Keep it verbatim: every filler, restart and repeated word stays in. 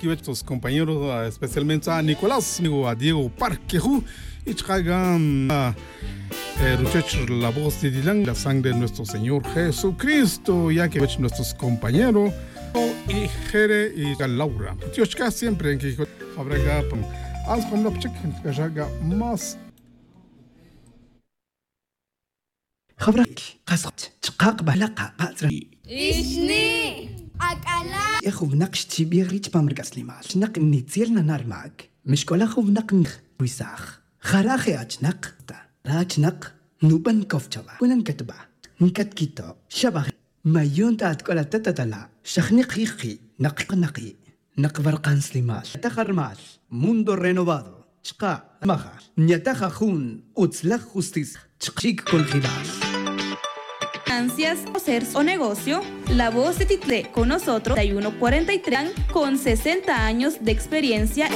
Kiwech tus compañeros, especialmente a Nicolás, amigo a Diego Parquejú, y chaka' ruchech la voz de Dilan, la sangre de nuestro Señor Jesucristo, ya que nuestros compañeros y Jere y Laura. Dios chaka' siempre en que habrá acá, pues, vamos con la chica, que ya más. Jawra qas chqaq' b'ala' qaq'atz re. Ixni, ak'ala'. E jun winaq xchib'ij ri' chpam ri k'aslemal chnaq nitzel nana' rmak. Mixk'ola' jun winaq nrwisaj. Jara' je' achnaq ta ra achnaq nub'an kow chawä. Wina nkatb'a, nkatkito' xab'aj. Mayon ta atk'ola' ta tatala' xajniq jiqi' naq qnaqi'. Naq warqan slimal nyataj armal mundo renovado chqa' maja nyataj ajun utzlaj justicia chqa' chik congelal. Ansias o ser o negocio, la voz de Title con nosotros, treinta y uno cuarenta y tres, con sesenta años de experiencia.